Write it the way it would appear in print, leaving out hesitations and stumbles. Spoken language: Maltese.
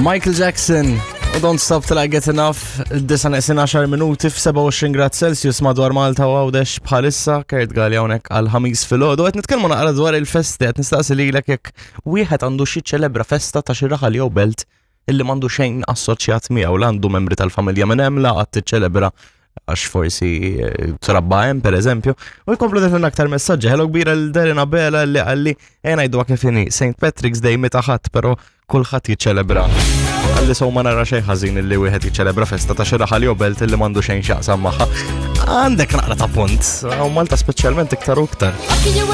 Michael Jackson u Don't Stop Till I Get Enough, disa neqsin 10 minuti f-27 grad Celsius madwar Malta u Għawdex bħalissa, Kurt Galli hawnhekk għal ħamis filgħodu. Qed nitkellmu naqra dwar il-festi, qed nistaqsi lilek jekk wieħed għandu xi ċelebra festa ta' xi raħal jew belt illi m'għandu xejn assoċjat miegħu la għandu membri tal-familja minn hemm la qatt tiċċelebra għax forsi eh, trabba hemm pereżempju. U jkomplu deħlin aktar messaġġi. Hello kbira l Darren Abela li qalli ejja ngħidu kif inhi St. Patrick's Day meta ħadd però kulħadd jiċċelebra. Għalli sew ma nara xejn ħażin illi wieħed jiċċelebra festa ta' xi raħal jew belt illi m'għandu xejn x'jaqsam magħha. Għandek naqra ta' punt, u Malta speċjalment iktar u iktar.